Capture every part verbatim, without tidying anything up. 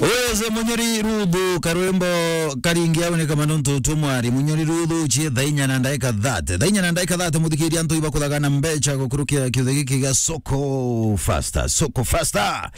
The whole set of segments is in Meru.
Uyu Munyori Ruthu, karwimbo karingi au ni kama nontu tumwari. Munyori Ruthu, cie thaa inya na ndaika thate. Thaa inya na ndaika thate, muthikiria antu iba kuthagana mbecha gukurukia kiuthi giki gia Soko Faster. Soko Faster.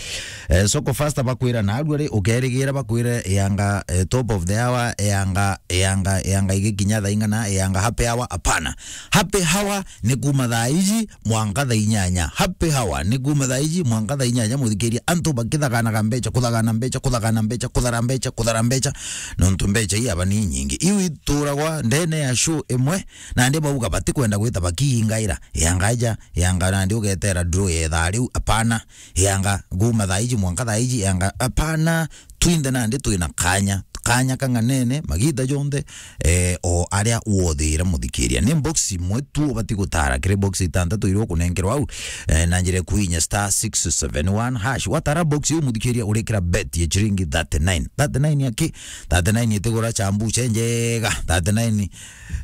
Eh, Soko Faster bakwira na arua ri, ukerigira bakwire yanga, eh, top of the hour, yanga, yanga, yanga igikinya thaa ing'ana, yanga happy hour, apana. Happy hour ni kuma thaa iji mwanka thaa inyanya. Happy hour ni kuma thaa iji mwanka thaa inyanya, muthikiria, antu bakithaganaga mbecha, kuthagana mbecha, kuthagana mbecha, kuthara mbecha, kuthara mbecha, nontu mbecha ii aba ni nyingi. Iu ituragwa ndene ya show imwe, nandi bauga batikwenda gwita bakiingaira, yanga aja, yanga nandi ugetera draw ya ithaa riu, apana, yanga kuma thaa iji mwanka thaa iji, yanga, apana, twinthe nandi twina kanya, kanya kang'anene, magita jonthe, eh, o aria wothire muthikiria. Ni box imwe tu ubati gutara, kiri box itantatu iria ukunenkerwa au, eh, na njira ya kuinya star six seven one hash. Watara box iu muthikiria, urikira bet ya chiringi thirty-nine. Thirty-nine ya ki? Thirty-nine itigura chambuche njega. Thirty-nine,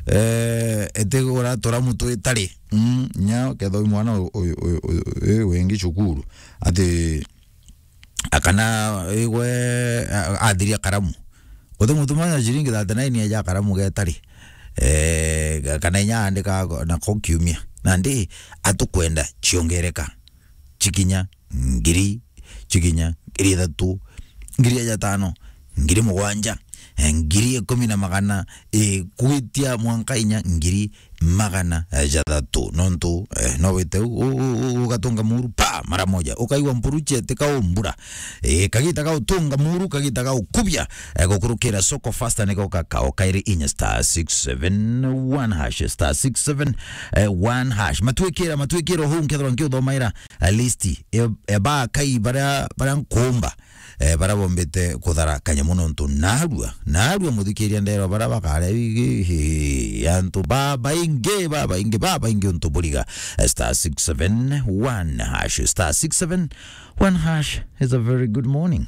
eh, itigura turamu twitari. Mm, nya ketho mwana uyu, uyu, uyu, uyu, uyu wingi cukuru. Ati akana igwe, a-, athiria karamu. Uti mutuma na ciringi thirty-nine eja karamu getari. Eh, ga-, kana inya andika go-, na ko kiumia. Nandi atukwenda ciongereka. Cikinya ngiri, cikinya ngiri ithatu, ngiri ijatano, ngiri mugwanja, eh, ngiri ikumi na magana, eh, kwitia mwanka inya ngiri magana, eh, jathatu. Nontu, eh, no wite u-, u-, u-, u-, ugatunga muru, pa, mara moja. Ukaigua mpuru cieteka umbura. Eh, kagita ga utunga muru, kagita ga ukubia, eh, gukurukira Soko Faster niko kakao kairi inya star six seven one hash, star six seven one hash. Matwikira, matwikira huu nkethirwa nkiuthomaira, eh, list, eh, eh, ba kai baria, baria nkumba. Eh, baria bombite kuthara kanyamu nontu narua, narua muthikiria ndero baria bakare igi, hi, antu babaingi, babaingi, babaingi untu buriga. Eh, star six seven one hash, star six seven one hash is a very good morning.